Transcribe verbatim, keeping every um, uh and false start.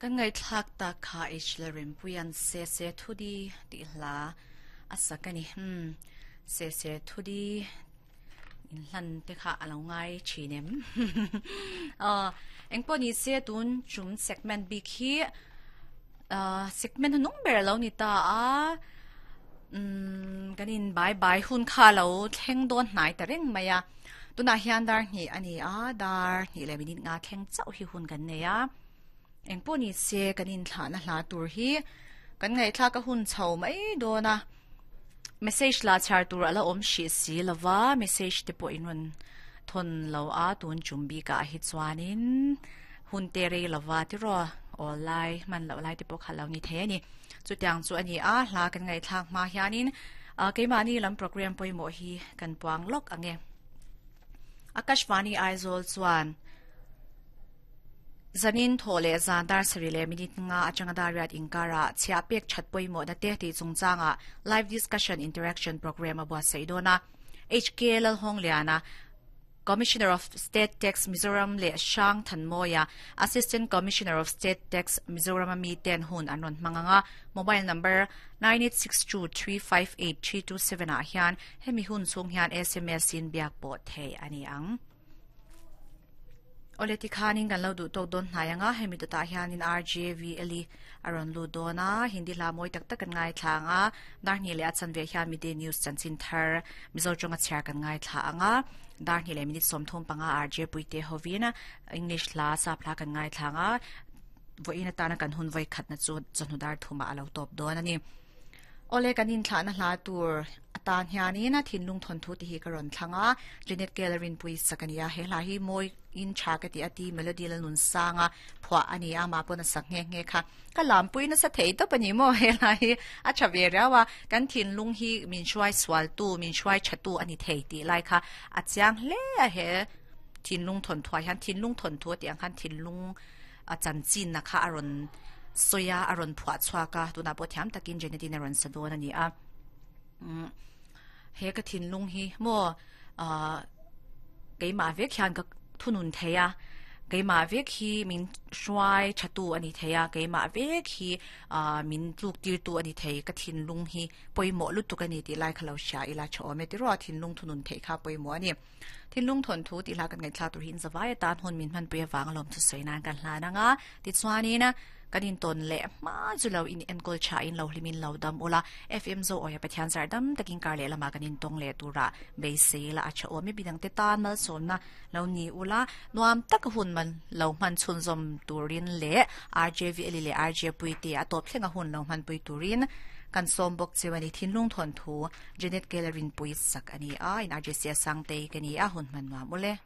Kan ngaihthlak tak kha H Lalrempuian Se Se Thudi tih hla a sak a ni. Hmm. Se Se Thudi in hlan te kha a lo ngai thin em? uh, engpawh ni se, tun chum segment bik hi uh, segment nung ber lo ni ta a. um, kanin bye bye hun kha lo thleng dawn hnai ta reng mai a. Tuna hian dar hnih ani a, dar hnih le minute nga thleng chauh hi hun kan nei a. Engpawh ni se, kanin thla na hla tur hi kan ngai thla ka hun chho mai dona. Message la char tur ala om shi si lova, message te pawh in ron thon lo a. Tun chumbi ka hi chuanin hun te rei lova ti ro online man lo lai te pawh kha lo ni the ani. Chu tiang chu ani a. Hla kan ngai thlak ma hianin keimahni lam program pawimawh hi kan puang lok ange. Akashvani Aizawl chuan zanin tho le zan dar sari le minute nga atanga dar riat inkara chhia pek that pawimawh na te ti chungchanga live discussion interaction program abua seidona. H K Lal Hong Liana, Commissioner of State Tax Mizoram le Shang Thanmoya, Assistant Commissioner of State Tax Mizoram ami ten hun anron manganga. Mobile number nine eight six two three five eight three two seven a hian hemi hun chung hian S M S in biak pawh thei ani ang. Ole, ti khanin kan lo du tok don hnaianga. Hemi to ta hianin R J V Eli aron lu dona. Hindi la moi tak tak kan ngai thlanga. Dar ni le achan ve hian midday news chanchin thar Mizo chonga chhar kan ngai thla anga. Dar ni le minute som thum panga R J Puite hovina English la sa phla kan ngai thlanga. Voina tana kan hun voi khat na chu chanu dar thuma alo top don ani. Ole, kanin thla na hla tur atan hianin a Thinlung Thon Thu ti hi ka ron thlanga. Janet Kellerin pui sakania. He hla hi moi in tha ka ti ati melody la nun sanga phwa ani a ma pon sak nge nge kha ka lam pui na sa thei to pani mo. He hla hi a tha ve rawa. Kan thin lung hi min shuai swal tu, min shuai chatu ani thei ti lai kha a chiang hle a. He Thin Lung Thon Thua hian Thin Lung Thon Thu ti ang khan thin lung a chan chin na kha aron soya aron phwa chhuaka. Tuna po thiam takin Janetin aron sadon ani a. He ka thin lung hi mo a keima vek hian ka thunun theya, keima vek hi min hruai thatu ani theya, keima vek hi a min tluk tir tu ani thei. Ka thin lung hi poimo lutuk ani ti lai khalo sha ila chome ti ro. Thin lung thunun thei kha poimo ani. Thin Lung Thon Thu ti la kan ngai thla tur hin zawai tan hon min man puya wang lom chu soina kan hla na nga. Ti chuani na kanin ton le ma chu lo in enkol cha in lo hlimin lo dam ula. F M Zo oya Pathian zar dam takin kar le lama kanin tong le tura be se la acha o mi bidang te tan mal som na lo ni ula. Nuam tak hun man lo man chun zom turin le R J V eli le R J Puite atop thlenga hun lo man pui turin kan som bok chewani. Thinlung Thon Thu, Janet Kellerin pui sak ani a. In R J C sang te kani a. Hun man ma mule.